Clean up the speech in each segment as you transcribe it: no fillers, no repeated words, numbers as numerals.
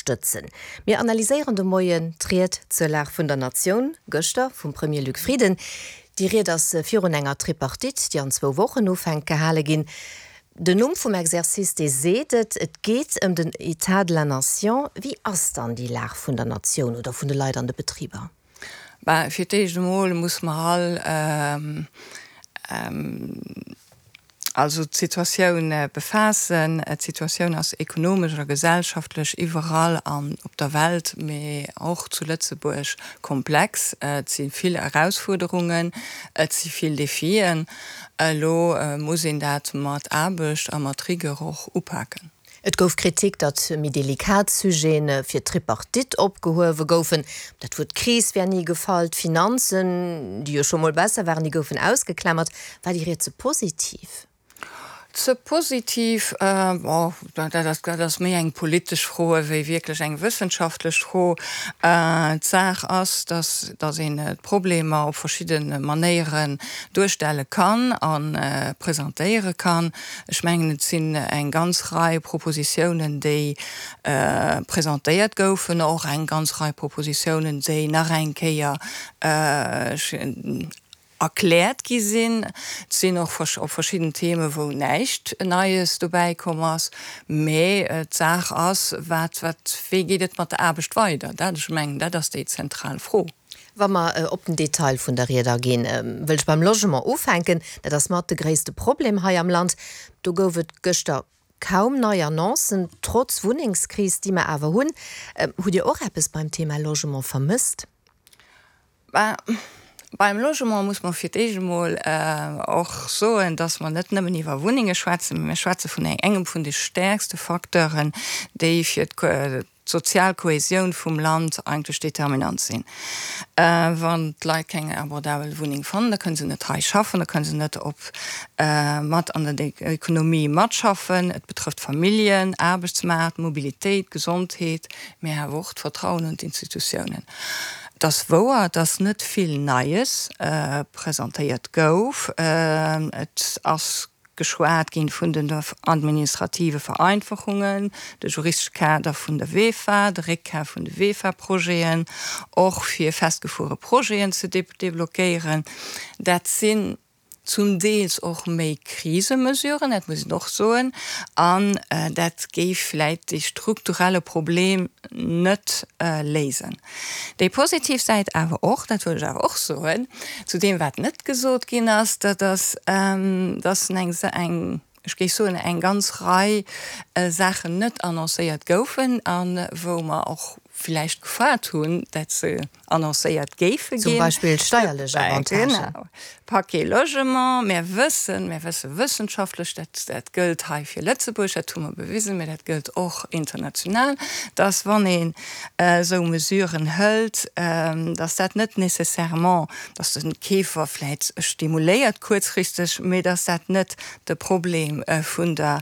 ënnerstëtzen. Mir analyséieren de Moien d'Ried zur Lag vun der Natioun gëschter vum Premier Luc Frieden. Déi Ried ass virun enger Tripartite, déi an zwou Wochen ufänkt, gehale ginn. Den Numm vum Exercice, dee seet et, et geet ëm den État de la Nation. Wéi ass dann déi Lag vun der Natioun oder vun de Leit an de Betriber? Ben, fir d'éischt emol muss mer all also d'Situatioun befaassen. D'Situatioun ass ekonomesch a gesellschaftlech iwwerall an op der Welt, mee och zu Lëtzebuerg komplex. Et si vill Erausfuerderungen, et si vill Defien. Elo muss een dat mat Aarbecht a mat Rigueur och upaken. Et gouf Kritik, datt méi delikat Sujete fir d'Tripartite opgehuewe goufen. Dat Wuert Kris wär ni gefall, d'Finanzen, déi jo scho mol besser waren, déi goufen ausgeklammert. War déi Ried ze positiv? Ze positiv? Bon, dat ass, dat ass méi eng politesch Fro ewéi wierklech eng wëssenschaftlech Fro. D'Saach ass, datt, datt een d'Problemer op verschidde Manéieren duerstelle kann a presentéiere kann. Ech mengen, et sinn eng ganz Rei Propositiounen, déi presentéiert goufen, och eng ganz Rei Propositiounen, déi nach eng Kéier erkläert gi sinn. Et sinn och op verschidden Theme wou näischt Neies dobäi komm ass. Mä d'Saach ass, wat, wat, wéi geet et mat der Aarbecht weider? Dat, ech mengen, dat ass déi zentral Fro. Wa mer op den Detail vun der Ried aginn, wëll ech beim Logement ufänken. Dat ass mat de gréisste Problem hei am Land. Do gouf et gëschter kaum nei Annoncen, trotz Wunnengskris, déi mer awer hunn. Hutt Dir och eppes beim Thema Logement vermësst? Ben, beim Logement muss mer fir d'éischt emol och soen, dass mer net nëmmen iwwer Wunnenge schwätzen, mä mir schwätze vun engem vun de stäerkste Facteuren, déi fir d'sozial Kohäsioun vum Land eigentlech determinant sinn. Wann d'Leit keng abordabel Wunneng fannen, da kënne se net hei schaffen, da kënne se net op mat an der Ekonomie matschaffen. Et betrëfft Familljen, Aarbechtsmaart, Mobilitéit, Gesondheet, mä awer och d'Vertrauen un d'Institutiounen. Et ass wouer, dass net vill Neies presentéiert gouf. Et ass geschwat ginn vun den administrative Vereinfachungen, de juristesche Kader vun der VEFA, de Réckkaf vun de VEFA-Projeten, och fir festgefuere Projeten ze deblockéieren. Dat sinn zum Deels och méi Krisemesuren, dat muss een och soen, an dat géif vläit dee strukturelle Problem net léisen. Déi positiv Säit awer och, dat wëll ech awer och soen, zu deem wat net gesot ginn ass, dat ass, dass eng, ech géif soen, eng ganz Rei Saachen net annoncéiert goufen a wou mer och villäicht gefaart hunn, dat se annoncéiert géife ginn. Zum Beispill steierlech Avantagen. Genau, Paquet Logement. Mir wëssen, mir wësse wëssenschaftlech, dat, dat gëllt hei fir Lëtzebuerg, dat hu mer bewisen, mä dat gëllt och international, dass wann een esou Mesuren hëlt, dass dat net nécessairement, dass de Keefer vläicht stimuléiert kuerzfristeg, mä dass dat net de Problem vun der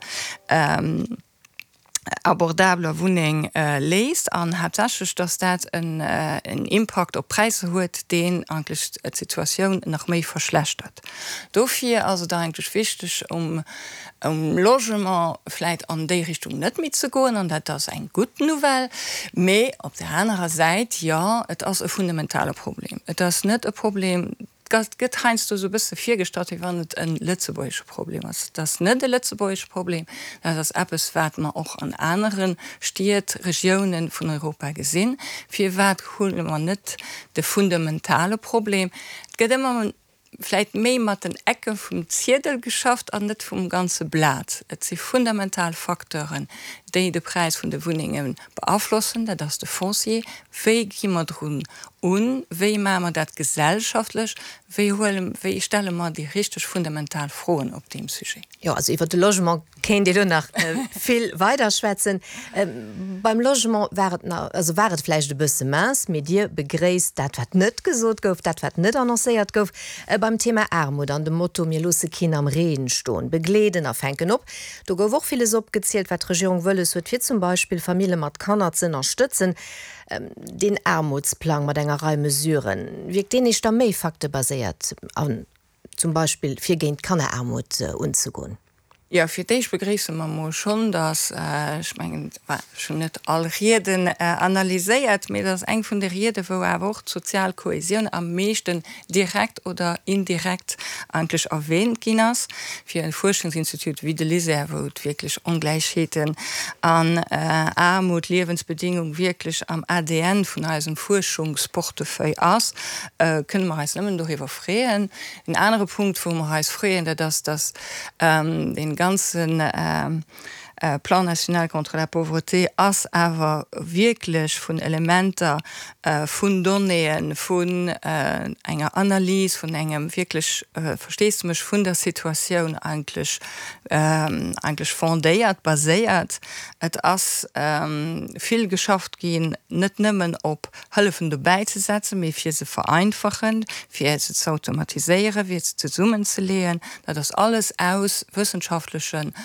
abordabeler Wunneng léist an haaptsächlech, dass dat en Impakt op d'Präisser huet, deen eigentlech d'Situatioun nach méi verschlechtert. Dofir ass et eigentlech wichteg, um Logement vläit an déi Richtung net méi ze goen, an dat ass eng gutt Nouvelle. Mee op där anerer Säit, jo, et ass e fundamentale Problem. Et ass net e Problem, Et gëtt heiansdo esou e bësse virgestallt, wéi wann et e lëtzebuergesche Problem ass. Et ass net e lëtzebuergesche Problem, dat ass eppes, wat mer och an anere Stied, Regiounen vun Europa gesinn. Firwat huele mer net de fundamentale Problem? Et gëtt ëmmer vläicht méi mat den Ecke vum Ziedel geschafft an net vum ganze Blat. Et si fundamental Facteuren, déi de Präis vun de Wunnenge beaflossen. Dat ass de Foncier. Wéi gi mer drun un? Wéi maache mer dat gesellschaftlech? Wéi huele, wéi stelle mer déi richteg fundamental Froen op deem Sujet? Jo, also iwwert de Logement kéint ee lo nach vill weider schwätzen. Beim Logement war et nach, also war et vläicht e bësse mince, mee Dir begréisst dat, wat net gesot gouf, dat, wat net annoncéiert gouf. Beim Thema Aarmut an dem Motto Mir loosse keen am Reen stoen, begleeden a fänken op, do gouf och villes opgezielt, wat d'Regierung wëlles huet, fir zum Beispill Famille mat Kanner ze ënnerstëtzen. Deen Aarmutsplang mat enger Rei Mesuren, wierkt deen éischter méi faktebaséiert an zum Beispill fir géint d'Kanneraarmut unzegoen? Jo, fir d'éischt begréisse mer emol schonn, datt, ech mengen, ech hunn net all Rieden analyséiert, mee dat ass eng vun de Rieden, wou awer och d'sozial Kohesioun am meeschten direkt oder indirekt eigentlech erwähnt ginn ass. Fir e Fuerschungsinstitut wéi de LISER, wou et wierklech Ongläichheeten an Aarmut, Liewensbedingung wierklech am ADN vun eisem Fuerschungsportefeuille ass, kënne mer eis nëmmen doriwwer freeën. En anere Punkt, wou mer eis freeën, dat ass, dass dee ganze Plan national contre la pauvreté ass awer wierklech vun Elementer, vun Donnéeën, vun enger Analys, vun engem wierklech Versteesdemech vun der Situatioun eigentlech, eigentlech fondéiert, baséiert. Et ass vill geschafft ginn, net nëmmen op Hëllefen dobäi ze setzen, mee fir se vereinfachen, fir se ze automatiséieren, fir se zesummenzeleeën. Dat ass alles aus wëssenschaftlechen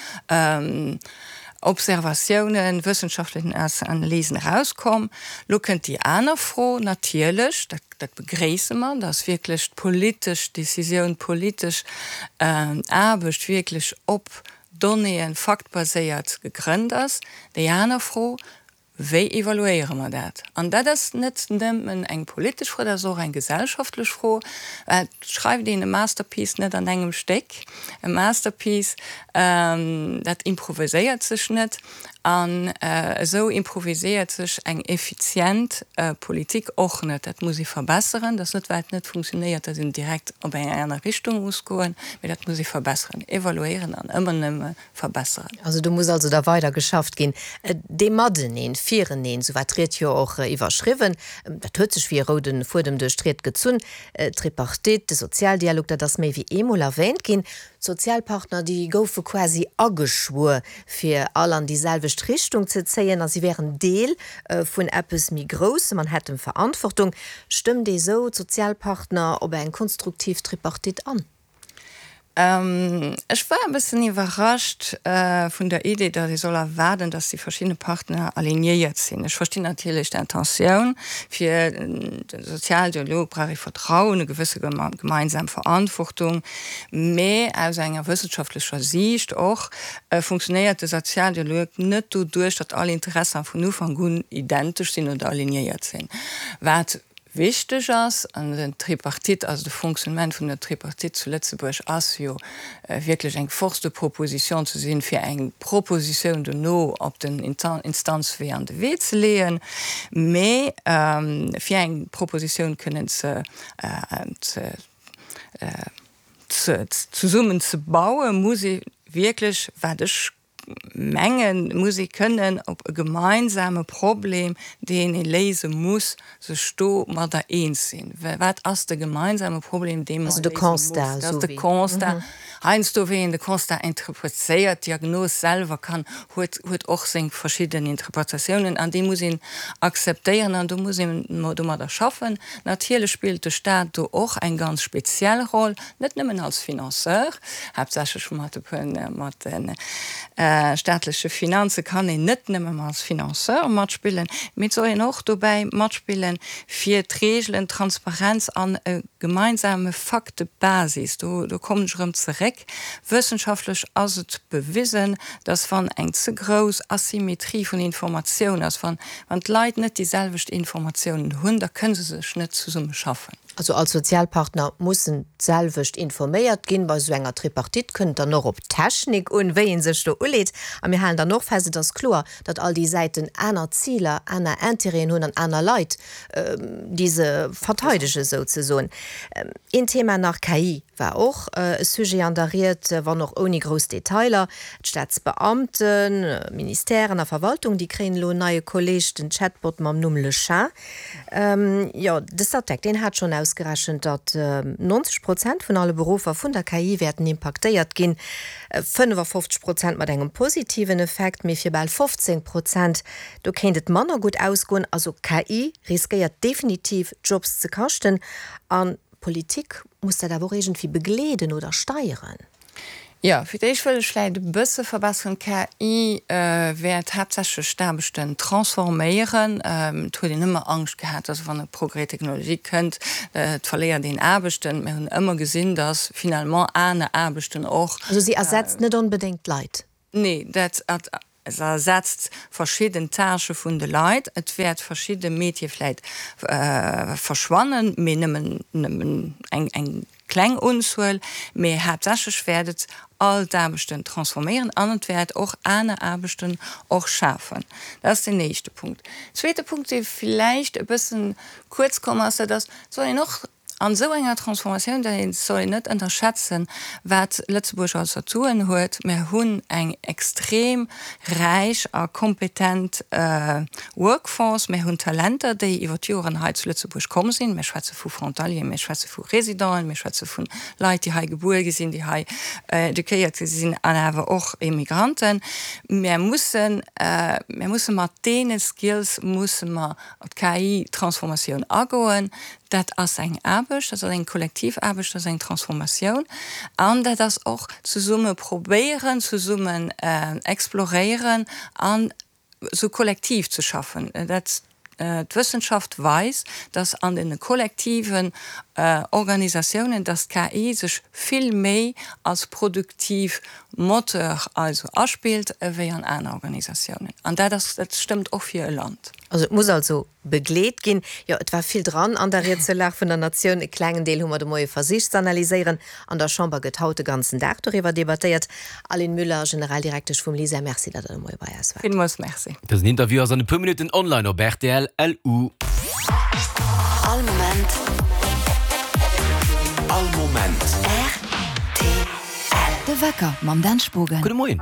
Observatiounen, wëssenschaftlechen Analysen erauskomm. Lo kënnt déi aner Fro natierlech, dat, dat begréisse mer, dass wierklech d'politesch Décisioun, d'politesch Aarbecht wierklech op Donnéeën, faktbaséiert gegrënnt ass. Déi aner Fro, Wéi evaluéiere mer dat? An dat ass net nëmmen eng politesch Fro, dat ass och eng gesellschaftlech Fro. Et schreift een e Masterpiece net an engem Stéck. E Masterpiece, dat improviséiert sech net. An esou improviséiert sech eng effizient Politik och net. Dat muss ee verbesseren. Dat ass net, well et net funktionéiert, datt een direkt op eng aner Richtung muss goen, mee dat muss ee verbesseren, evaluéieren an ëmmer nëmme verbesseren. Also do muss also da weider geschafft ginn. Dee Mateneen, Fireneen, sou war d'Ried jo och iwwerschriwwen, dat huet sech wéi e roude Fuedem duerch d'Ried gezunn. D'Tripartite, de Sozialdialog, dat ass méi wéi eemol erwähnt ginn. D'Sozialpartner, déi goufe quasi ageschwuer, fir all an déi selwecht Richtung ze zéien a si wären Deel vun eppes méi Groussem an hätten Verantwortung. Stëmmt ee sou d'Sozialpartner op eng konstruktiv Tripartite an? Ech war e bëssen iwwerrascht vun der Idee, datt ee soll erwaarden, datt déi verschidde Partner alignéiert sinn. Ech verstinn natierlech d'Intentioun, fir de Sozialdialog brauch ee Vertrauen, e gewësse gemeinsam Verantwortung, mä aus enger wëssenschaftlecher Siicht och funktionéiert de Sozialdialog net doduerch, datt all Interesser vun Ufank un identesch sinn oder alignéiert sinn. Wat Wichteg ass, an den Tripartite, also de Fonctionnement vun der Tripartite zu Lëtzebuerg ass jo wierklech eng Force de proposition ze sinn, fir eng Propositioun dono op den Instanzwee an de Wee ze leeën, mä fir eng Propositioun kënnen ze zesummen ze bauen, muss ee wierklech, wat ech mengen, muss ee kënnen op e gemeinsame Problem, deen ee léise muss, sech domadder eens sinn. Wat ass de gemeinsame Problem, dee mer léise mussen? Dat ass de Constat. Heiansdo, wéi een de Constat interpretéiert, d'Diagnos selwer kann, huet, huet och seng verschidden Interpretatiounen an déi muss een akzeptéieren an do muss een domadder schaffen. Natierlech spillt de Stat do och eng ganz speziell Roll, net nëmmen als Financeur, Haaptsächlech mat de staatleche Finanze kann een net nëmmen als Financeur matspillen, mee et soll een och dobäi matspillen, fir d'Reegelen, d'Transparenz an e gemeinsame Faktebasis, do kommen ech erëm zeréck, wëssenschaftlech ass et bewisen, dass wann eng ze grouss Asymmetrie vun Informatioun ass, wann d'Leit net déi selwecht Informatiounen hunn, da kënne se sech net zesummeschaffen. Also all Sozialpartner mussen d'selwecht informéiert ginn. Bei esou enger Tripartite kënnt et dann och op d'Technik un, wéi ee sech do uleet. A mir halen dann och fest, et ass kloer, datt all déi Säiten aner Ziler, aner Intérêten hunn an aner Leit, déi se verteidegen, souzesoen. Een Thema nach, KI war och e Sujet an der Ried, wann och ouni grouss Detailer. D'Staatsbeamten, Ministèren a Verwaltung, déi kréien elo en neie Kolleeg, den Chatbot mam Numm Le Chat. Jo, de Statec, deen hat schonn ausgerechent, datt 90 Prozent vun alle Beruffer vun der KI wäerten impaktéiert ginn, 55 Prozent mat engem positiven Effekt, mee fir bal 15 Prozent, do kéint et manner gutt ausgoen. Also KI riskéiert definitiv Jobs ze kaschten an d'Politik muss dat awer och iergendwéi begleeden oder steieren. Jo, fir d'éischt wëll ech vläicht e bësse verbesseren. D'KI wäert haaptsächlech d'Aarbechten transforméieren. Et huet een ëmmer Angscht gehat, dass wann e Progrès technologique kënnt, et verléiert een Aarbechten. Mir hunn ëmmer gesinn, dass finalement aner Aarbechten och. Also si ersetzt net onbedéngt d'Leit? Nee, dat Se ersetzt verschidden Tâchë vun de Leit. Et wäert verschidde Métiere vläit verschwannen, mee nëmmen nëmmen eng eng kleng Unzuel. Mee haaptsächlech wäert et all d'Aarbechten transforméieren an et wäert och aner Aarbechten och schafen. Dat ass deen éischte Punkt. Zweete Punkt, dee vläicht e bëssen kuerz komm ass, dat ass, et soll een och An esou enger Transformatioun, dat soll een net ënnerschätzen, wat Lëtzebuerg als Atouen huet. Mir hunn eng extrem räich a kompetent Workforce. Mir hunn Talenter, déi iwwer d'Joren hei zu Lëtzebuerg komm sinn. Mir schwätze vu Frontalieren, mir schwätze vu Résidenten, mir schwätze vu Leit, déi hei gebuer gi sinn, déi hei eduquéiert gi sinn an awer och Immigranten. Mir mussen, mir musse mat deene Skills musse mer op d'KI-Transformatioun agoen. Dat ass eng Aarbecht, dat ass eng kollektiv Aarbecht, dat ass eng Transformatioun an dat ass och zesumme probéieren, zesummen exploréieren an esou kollektiv ze schaffen. Dat, d'Wëssenschaft weist, dass an den kollektiven Organisatiounen, dass d'KI sech vill méi als produktiv Moteur also aspillt ewéi an aner Organisatiounen. An dat ass, dat stëmmt och fir e Land. Also et muss also begleet ginn. Jo, et war vill dran an der Ried zur Lag vun der Natioun. E klengen Deel hu mer de Moie versicht z'analyséieren. An der Chamber gëtt haut de ganzen Dag doriwwer debattéiert. Aline Müller, Generaldirektesch vum LISER, Merci, datt Der de Moie bei eis waart. Villmools Merci. Dësen Interview ass an e puer Minutten online op rtl. LU. All Moment. All Moment. Rtl. De Wecker mam Dan Spogen. Gudde Moien.